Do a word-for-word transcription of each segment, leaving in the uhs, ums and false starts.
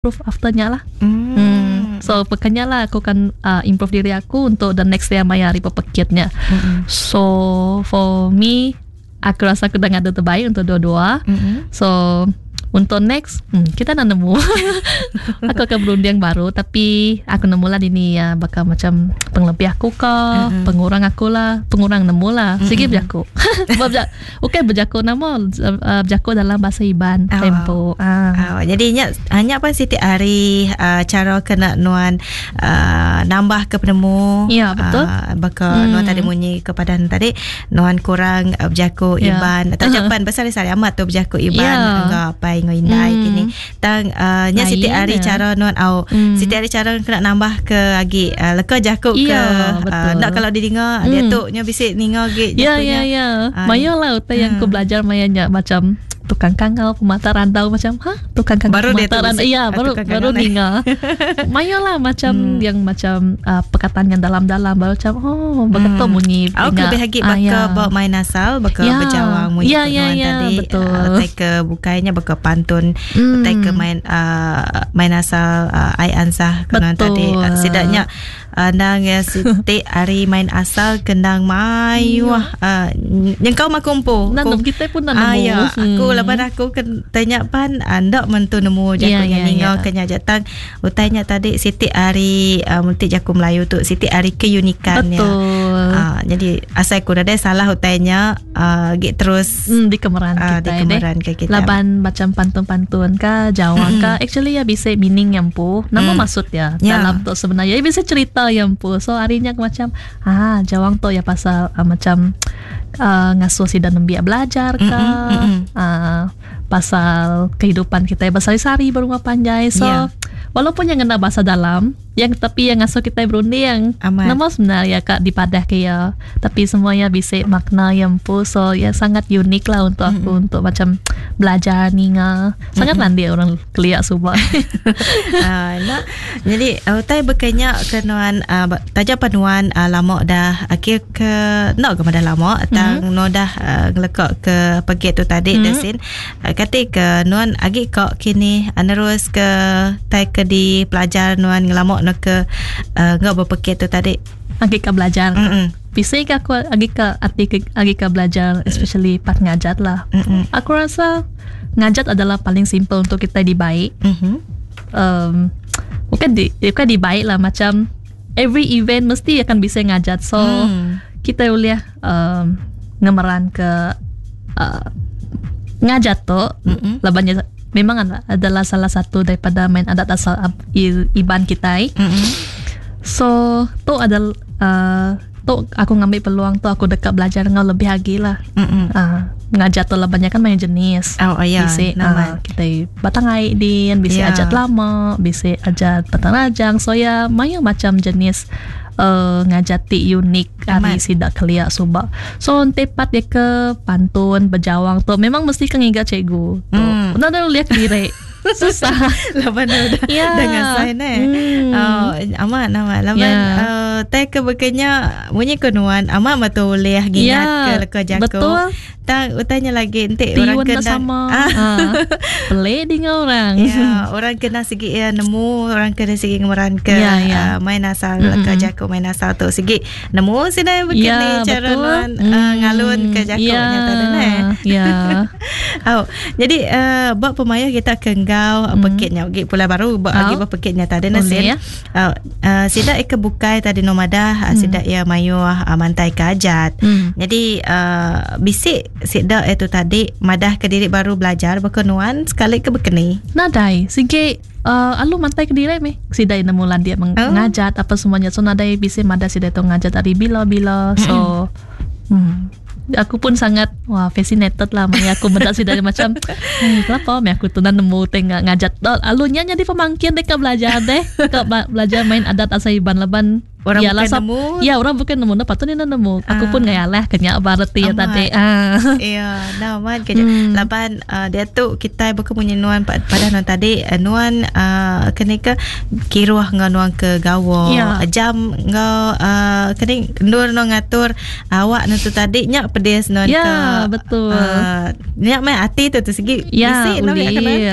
Improve after nya lah. Mm. Hmm. So pekanya lah aku kan uh, improve diri aku untuk the next day maya hari pepekitnya. Mm. So for me, aku rasa aku dah ngadu terbaik untuk dua-dua. Mm. So untuk next, hmm, kita nak nemu. Aku akan berunding baru, tapi aku nemu lah ini ya bakal macam pengelebih aku ke, mm-hmm. pengurang aku lah, pengurang nemu lah. Mm-hmm. Sigi berjaku. Okey, berjaku nama uh, berjaku dalam bahasa Iban oh. Tempo. Ah. Oh, jadi nya hanya apa siti hari uh, cara kena nuan uh, nambah ke penemu. Ya, betul. Uh, baka hmm. nuan tadi munyi kepada tadi nuan kurang uh, berjaku ya. Iban atau uh-huh. Japan besar sari amat tu berjaku Iban ya. Enggak apa ngau indai hmm. kini. Tang uh, nya siti hari cara nuan au hmm. siti hari cara kena nambah ke lagi uh, leka jakuk ke ya, uh, nak kalau didengar hmm. dia tu nya bisik ninga ge. Ya ya ya. Maya lah utai yang aku belajar maya nya macam tukang kangau pemata rantau macam ha tukang kangau baru pemata rantau ya baru baru ninga. Maya lah macam hmm. yang macam uh, perkataan yang dalam-dalam baru macam oh begitu hmm. bunyi. Aku lebih lagi baka ah, ya. Bawa main asal baka ya. Berjawang munyi ya, ya, ya, tadi betul. Uh, utai ke bukainya baka pantun hmm. utai ke main uh, main asal uh, ai ansah kenuan tadi uh, setidaknya uh, nang ya siti hari main asal kendang mayuh uh, yang kau makumpu nanam kita pun nanam ah, ya. Aku lepas aku ken, tanya pan anda mentu nemu jaku yeah, yeah, ninga yeah. Kenya jatang utainya tadi siti hari uh, multi jaku Melayu tu siti hari keunikan. Betul. Ya. Uh, jadi asal aku dah salah utainya uh, git terus mm, di kemeran uh, kita di kemeran ke kita. Laban macam pantun-pantun ka jawang mm. ka actually ya bisa meaning yang pu nama mm. maksud ya yeah. Dalam tu sebenarnya ya bisa cerita yang pu. So harinya aku macam ah jawang tu ya pasal uh, macam uh, ngasuh si dan nembiak belajar ka mm-hmm. uh, pasal kehidupan kita bersari-sari berumah panjai. So yeah. Walaupun yang kena bahasa dalam yang tapi yang ngasuh kita berunding nama sebenarnya kak di padah ke ya tapi semuanya bisa makna yang pu. So ya sangat unik lah untuk aku mm-hmm. untuk macam belajar ninga sangat mm-hmm. landia orang keliak subak. Uh, nak jadi utai berkenya kenuan uh, taja panuan uh, lama dah akhir ke nak ke dah lama tang mm-hmm. no dah uh, ngelekak ke pergi tu tadi mm-hmm. desin uh, kata ke nuan agi kok kini uh, nerus ke tai ke di pelajar nuan ngelamak no ke uh, ngak berpekit tu tadi agi ke belajar. Mm-hmm. Bisa ke aku agi ke ati ke agi ke belajar especially part ngajat lah. Mm-hmm. Aku rasa ngajat adalah paling simple untuk kita dibaik. Mm-hmm. Um, bukan di bukan dibaik lah macam every event mesti akan bisa ngajat. So mm. kita boleh um, ngemeran ke uh, ngajat tu mm-hmm. labannya memang adalah salah satu daripada main adat asal Iban kita. Mm-hmm. So tu adalah uh, tu aku ngambil peluang tu aku dekat belajar dengan lebih lagi lah. Mm-hmm. Uh, ngajat tu lah banyak kan banyak jenis. Oh, oh ya. Bisa uh, kita batang air din, bisa yeah. ajat lama, bisa ajat batang rajang. So ya banyak macam jenis uh, ngajat ti unik hari sidak keliak subak. So tepat dia ke pantun berjawang tu memang mesti kan ingat cikgu. Tu. Mm. Nah, dah lihat diri. Susah. Laban dah yeah. dengan sign eh. Mm. Oh, amat amat. Laban yeah. uh, tai ke bekenya munyi kenuan amat matu boleh gingat yeah. ke leka jago. Betul. Tang utanya lagi entik orang kena sama. Ah. Pelik dengan orang. Ya, orang kena segi ya nemu, orang kena segi ngemeran ke yeah, yeah. Uh, main asal mm-hmm. leka jago main asal tu segi nemu sini begini yeah, cara nuan mm. uh, ngalun ke jago yeah. nya tadi ne. Ya. Oh, jadi uh, buat pemayah kita ke enggau mm. pekitnya gi pula baru buat lagi oh. Pekitnya tadi nasin. Ya. Uh, uh, sidak ke bukai tadi nomadah mm. sidak ya mayu uh, mantai kajat. Mm. Jadi uh, bisik sidak itu tadi madah ke diri baru belajar berkenuan sekali ke berkeni. Nadai sige uh, alu mantai ke diri me. Sidai nemu landia mengajat oh. apa semuanya. So nadai bisik madah sidai tu ngajat dari bila-bila. So hmm. Aku pun sangat wah fascinated lah maya aku mendak sih dari macam hey, kenapa me aku tu nemu tengah ngajat alunya jadi pemangkian dek belajar deh ke belajar main adat asal Iban laban Orang ya, bukan lah, nemu. Ya, orang bukan nemu. Nah, patut ni nemu. Aku Ah. pun ngayalah kenyak berarti ya tadi. Ah. Ya, nah man kerja. Hmm. Laban uh, dia tu kita bukan punya nuan pada nuan tadi uh, nuan uh, kena ke kiruh ngau nuan ke gawa. Ya. Jam ngau uh, kena nur nuan ngatur awak nu tu tadi nyak pedis nuan ya, ke. Betul. Uh, nyak mai hati tu tu segi. Ya, bisi uli.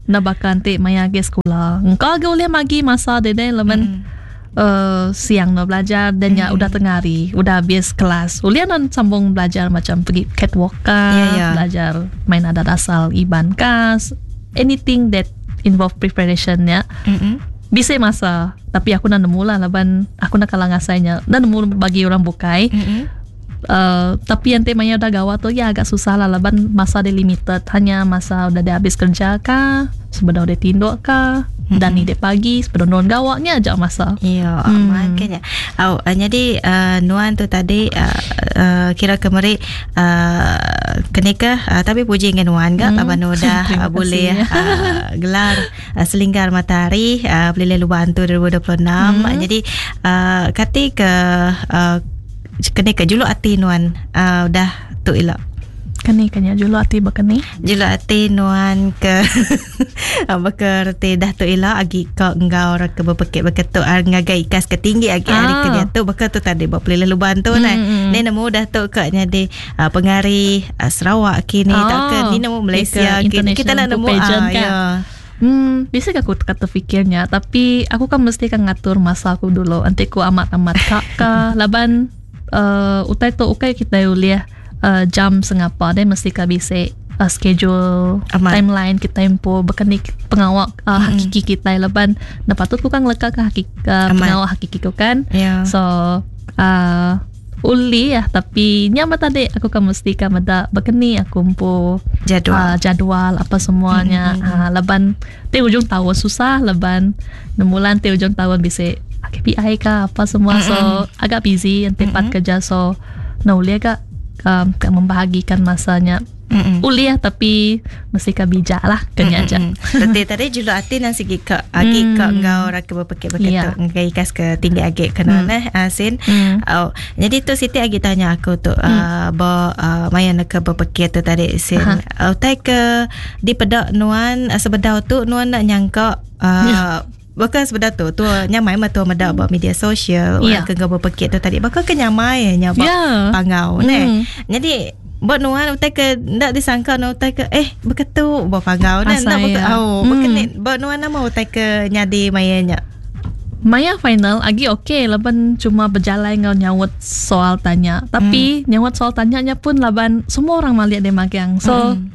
Nak bakal nanti maya ke sekolah. Engkau agak boleh magi masa dede lemen. Hmm. Uh, siang no belajar dan ya Mm. udah tengah hari udah habis kelas ulian non sambung belajar macam pergi catwalk kah, yeah, yeah. belajar main adat asal Iban kah, anything that involve preparation ya. Mm-mm. Bisa masa tapi aku nak nemu lah laban aku nak kalah ngasainya nak nemu bagi orang bukai. Mm-mm. Uh, tapi yang temanya udah gawat tuh ya agak susah lah laban masa dia limited hanya masa udah dia habis kerja kah sebelum dia tinduk kah Mm-mm. dan ni dia pagi sebelum nuan gawaknya aja masa. Ya, Hmm. makanya. Oh, uh, jadi uh, nuan tu tadi uh, uh, kira kemeri uh, kenika uh, tapi puji dengan nuan gak Hmm. laban udah Terima uh, boleh kasih. uh, gelar uh, Selinggar Matahari uh, Pelilih Lubang tu dua ribu dua puluh enam. Hmm. Jadi uh, kati ke uh, kenika juluk ati nuan uh, udah tu elok. Kani kanya juluk ati bakani. Juluk ati nuan ke bekerti dah tu ila agi ka enggau ra ke berpekik berketuk ar ngagai ikas ke tinggi agi Ah. hari ke dia tu baka tu tadi buat pelilih luban tu nah. Mm, mm. Ni nemu dah tu kak jadi uh, pengari uh, Sarawak kini Ah, tak ke ni nemu Malaysia ke kini kita nak international nemu pageant ah, kan? ya. Hmm, bisa aku kata fikirnya tapi aku kan mesti kan ngatur masa aku dulu. Nanti aku amat-amat kak ka laban uh, utai tu ukai kita uliah uh, jam sengapa dia mesti ka bisa uh, schedule Amat. timeline kita empo bukan ni pengawak uh, Mm-mm. hakiki kita laban nah patut ku kan leka ke hakiki uh, Amat. pengawak hakiki ku kan. Ya. So uh, uli ya tapi nyama tadi aku kan mesti kan meda bekeni aku empo Jadual. uh, jadual apa semuanya. Mm-mm. Uh, leban ti ujung tahun susah leban enam bulan ti ujung tahun bisa K P I ke apa semua. Mm-mm. So agak busy yang tempat Mm-mm. kerja so nah uli agak um, membahagikan masanya. Mm-mm. Uli ya tapi mesti ka bijak lah kena aja. Tadi tadi juluk ati nan segi ka agi ka Mm. enggau ra ke berpekik berketuk Ya. ngagai ikas ke tinggi agi kena Mm. neh asin. Mm. Oh, jadi tu Siti agi tanya aku tu Mm. uh, bo uh, maya nak ke berpekik tu tadi sin. Aha. Uh, utai ke di pedak nuan uh, sebedau tu nuan nak nyangka uh, Ya. Bukan sebedau tu tu nyamai mah tu medak buat media sosial Ya. orang ke ngau berpekik tu tadi. Bakal ke nyamai nya buat Ya. pangau neh. Mm. Jadi buat nuan utai ke ndak disangka nuan utai ke eh beketu buat pangau neh Asai ndak beke ya. oh Mm. bekenit buat nuan nama utai ke nyadi mayanya. Maya final agi okey laban cuma berjalan ngau nyawut soal tanya. Tapi Hmm. nyawut soal tanyanya pun laban semua orang malihat dia magang. So Mm.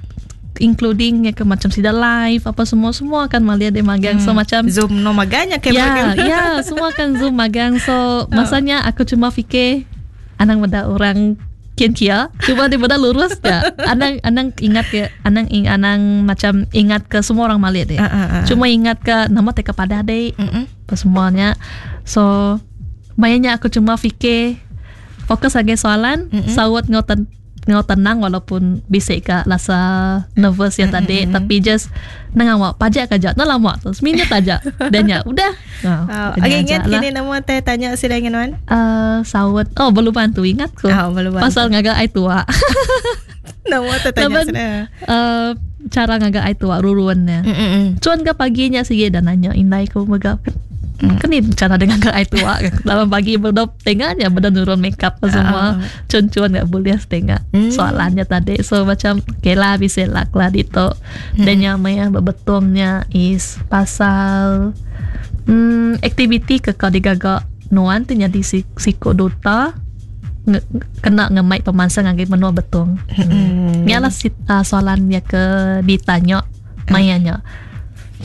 including ya ke macam sida live apa semua semua akan malihat dia magang. So Hmm. macam Zoom no maganya ke ya ya semua akan Zoom magang. So masanya aku cuma fikir anang benda orang kian kia cuma dia benda lurus ya. Anang anang ingat ke anang ing, anang macam ingat ke semua orang malihat dia. Ah, ah, ah. Cuma ingat ke nama teka pada deh Mm-mm. apa semuanya. So, mayanya aku cuma fikir fokus lagi soalan, Mm-mm. sawat ngau ten, ngau tenang walaupun bisik ke rasa nervous ya tadi, Mm-mm. tapi just nang awak pajak aja, nah lama tu, seminit aja. Dan ya udah. Oh, Nah, okay, ingat kini nama teh tanya sila dengan nuan. Uh, sawat, oh belum bantu ingat ku. Oh, belum bantu. Pasal ngagak ai tua. Nama teh tanya Laban, sila. uh, cara ngagak ai tua ruruannya. Mm-mm. Cuan ke paginya sih dan nanya indai ku megap. Mm. Kan ni cara dengan ke tua dalam pagi berdop tengahnya berdop nurun makeup apa semua. Ah. Cuan-cuan nggak boleh setengah Mm. soalannya tadi. So macam okay lah bisa lak lah dito. Dan yang maya bebetongnya is pasal hmm, aktiviti ke kau digagak nuan tu jadi si siko duta nge, kena ngemai pemansang ngagai menua betong. Mm. Ni lah si, uh, soalan yang ke ditanya mayanya.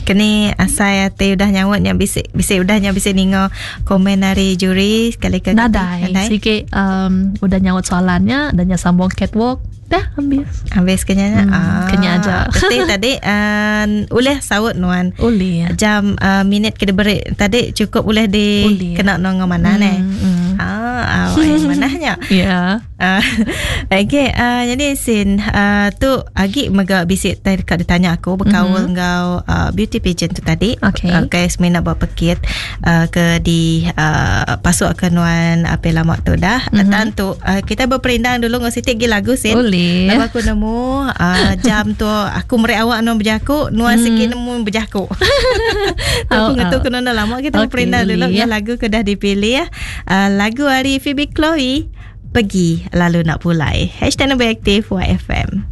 Kini asai ati udah nyawat yang bisik bisik udah nya bisik ningo komen dari juri sekali ke Nadai. Sikit um, udah nyawat soalannya dan nya sambung catwalk. Dah habis. Habis kenya Hmm, ah, kenya aja. Tadi tadi uh, uleh saut nuan. Boleh ya. Jam uh, minit ke diberi tadi cukup uleh di Uleh. kena nong mana hmm, neh. Hmm, hmm. Ah, ah, yang manahnya. Ya. Uh, okay, uh, jadi sin uh, tu agi mega bisi dekat ditanya aku berkaul mm-hmm. enggau uh, beauty pageant tu tadi. Okay. Okay, semina buat pekit uh, ke di uh, pasuk ke nuan apa lama tu dah. Mm-hmm. Dan tu uh, kita berperindang dulu ngau sitik gi lagu sin. Boleh. Lagu aku nemu uh, jam tu aku merek awak nuan berjaku, nuan mm. sikit nemu berjaku. Tu aku ngetu kena lama kita okay, berperindang dulu ya. Lagu ke dah dipilih ya. Uh, lagu hari Phoebe Chloe, Pergi Lalu Nak Pulai. Hashtag Nombor Aktif Y F M.